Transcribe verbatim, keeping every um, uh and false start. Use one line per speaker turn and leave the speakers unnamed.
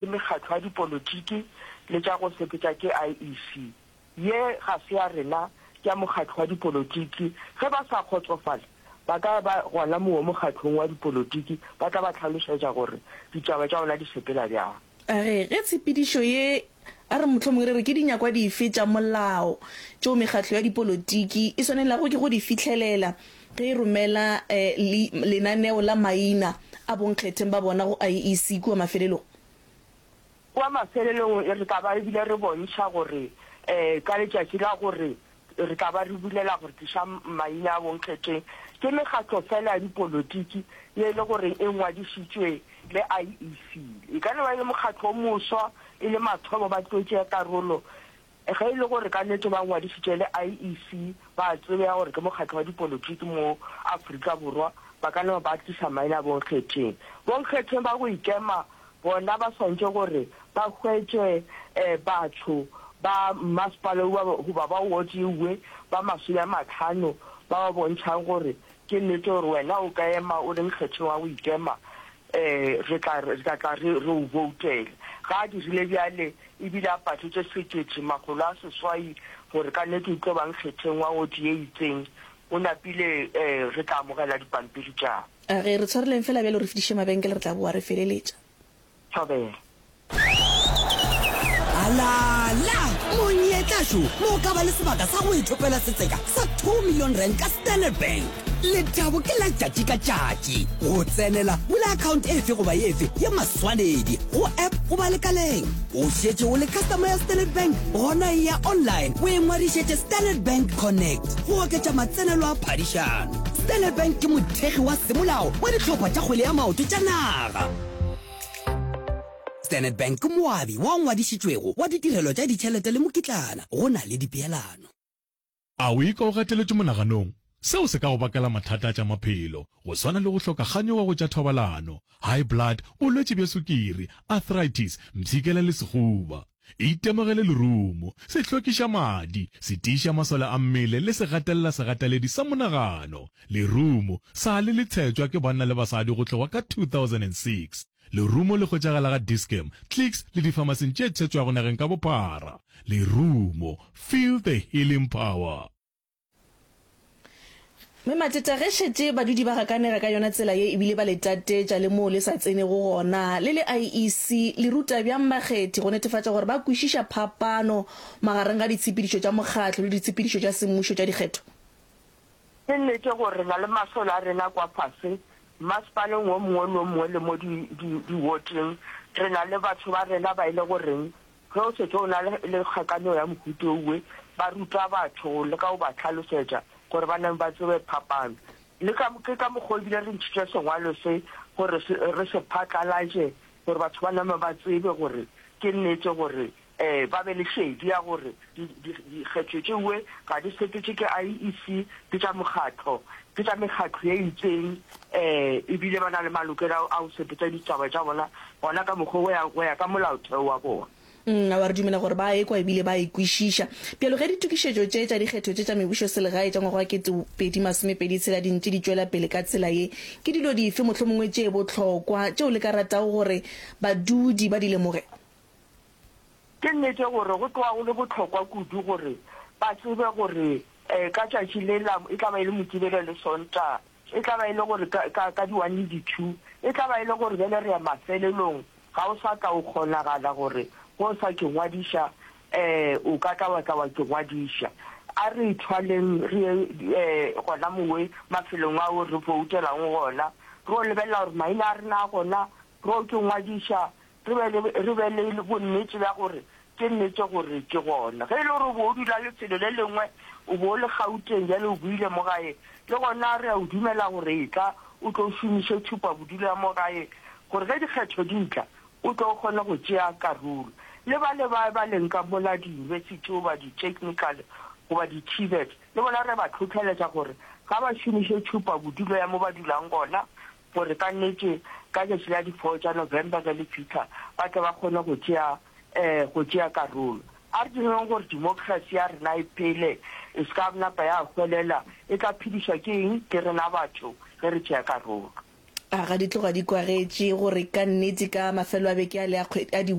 Ke mekgatlo ya dipolotiki le tša go sepetša ke I E C. Ye ga se ya rena, ke ya mokgatlo wa dipolotiki. Ge ba sa kgotsofale, ba ka ba gona moo mokgatlong wa dipolotiki, ba tla ba hlalošetša gore ditaba tša bona di sepela bjang.
A re ge tshepedišo ye, a re mohlomongwe re re ke dinyakwa dife tša molao tšeo mekgatlo ya dipolotiki e swanelago ke go di fihlelela ge e romela lenaneo la maina a bonkgetheng ba bona go I E C kua mafelelong?
Kua mafelelong re tla ba ebile re bontšha gore um ka letšatši la gore re tla ba re bulela gore tliša maina a bonkgetheng, ke mekgatlo fela ya dipolotiki ye e le gore e ngwadišitšwe le I E C. E ka no ba e le mokgatlo o moswa, e le mathomo ba tlo tšea karolo. Ge e le gore ka nnete ba ngwadišitše le I E C, ba tsebega gore ke mokgatlo wa dipolotiki mo Afrika Borwa, ba ka no ba tliša maina a bonkgetheng. Bonkgetheng ba go ikema bona ba swantše gore ba hwetše um batho ba mmasepala goba ba ward ewe ba masome a matlhano ba ba bontšhang gore ke nnete gore wena o ka ema o le nkgetheng wa go ikema, um re tla re tla tla re re o voutele. Ga a dirile bjale ebile a patletše sekete makgolo a seswai gore ka nnete o tlo ba nkgetheng wa ward ye itseng, o napile, um re tla amogela dipampiri tša.
A ge re tshwareleng fela bjalo, re fetiše mabenkele, re tla boa re feleletša.
Thobela.
Alala monyetlašo mo o ka ba le sebaka sa go ithopela setseka sa two million rand ka Standard Bank. Lethabo ke la tšatši ka tšatši. Go tsenela, bula account efe goba efe ya maswanedi go app goba lekaleng. O šetše o le customer ya Standard Bank? Gona e ya online o e ngwadišetše Standard Bank Connect go oketša matsenelo a phadišano. Standard Bank ke mothekgi wa semolao wa dihlopha tša kgwele ya maoto tša naga. Standard Bank ke moabi wa ngwadišitšwego wa ditirelo tša ditšhelete le mokitlana, go na le dipeelano.
A o ikwa o gateletšwe monaganong? Seo se ka go bakela mathata a tša maphelo, go swana le go hloka kganyogo go tša thobalano, high blood, bolwetši bja sukiri, arthritis, mpshikela le sehuba. Itemogele lerumo, se hlwekiša madi, se tiiša masole a mmele le se gatelela segateledi sa monagano. Lerumo sa le le tshetšwa ke banna le basadi go tloga ka two thousand and six. Lerumo le hwetšagala ga Dis-Chem, Clicks le difamasing tše tshetšwago nageng ka bophara. Lerumo, feel the healing power.
Mme Mateta, ge šetše badudi ba gakanega ka yona tsela ye ebile ba le tatetša le moo le sa tsenego gona, le le I E C le ruta bjang bakgethi go netefatša gore ba kwešiša phapano magareng ga ditshepedišo tša mokgatlo le ditshepedišo tša semmušo tša dikgetho?
Ke nnete gore re na le masole a rena kwa fase masepaleng o mongwe le o mongwe le mo di-wardeng. Re na le batho ba rena ba e le goreng ge o setse o na le kgakaneo ya mohuta owe, ba ruta batho le ka go ba tlhalosetša gore ba nang ba tsebe phapano. Le ka ke ka mokgwa ebile re ntšhitše sengwalo se gore re se phatlalatše gore batho ba name ba tsebe gore ke nnete gore um ba be le šedi ya gore dikgetho tšewe ga di sepetše ke I E C, ke tša mokgatlo, ke tša mekgatlo ye itseng, um ebile ba na le malokelo a go sepetša ditaba tša bona gona ka mokgwa go ya ka molaotheo wa bona.
Mm, a re dumela gore ba ekwa ebile ba e kwešiša. Bjalo ge ditokišetšo tše tša dikgetho tše tša mebušo selegae tša ngwaga wa kete pedi masomepedi tshela di ntše di tšwela pele ka tsela ye, ke dilo dife mohlomongwe tše bohlokwa tšeo le ka ratago gore badudi ba di lemoge?
Ke nnete gore go tloga go le bohlokwa kudu gore ba tsebe gore um ka tšatši le la e tla ba e le Mokibelo le Sontaga, e tla ba e le gore ka di-one le di-two, e tla ba e le gore bjale re ya mafelelong, ga o sa tla o kgonagala gore go sa ke ngwadiša, um o ka tla wa tla wa ke ngwadiša. A re ithwaleng re ye um gona mowe mafelong ao re voutelang gona, re o lebelela gore maina a rena a gona, re o ke ngwadiša, re be le bonnete bja gore ke nnete gore ke gona. Ge e le gore o bo o dula lefelo le lengwe, o bo o le Gauteng, bjale o buile mo gae, le gona re a o dumela gore e tla o tlo šomiše tšhupa bodulo ya mo gae gore ge dikgetho di tla o tlo kgone go tšea karolo. Le ba le ba ba leng ka mola di-university goba di-technical goba di-TVET, le bona re ba tlhotlheletša gore ga ba šomiše tšhupa bodulo ya mo ba dulang gona gore ka nnete ka tšatši la di-four tša November ge le fitlha ba tle ba kgone go tšea um go tšea karolo. A re direng gore democracy ya rena e phele, e se ka napa ya hwelela. E tla phedišwa ke eng? Ke rena batho ge re tšea karolo.
A ga di tloga di kwagetše gore ka nnete ka mafelo a beke a le a kgwe a di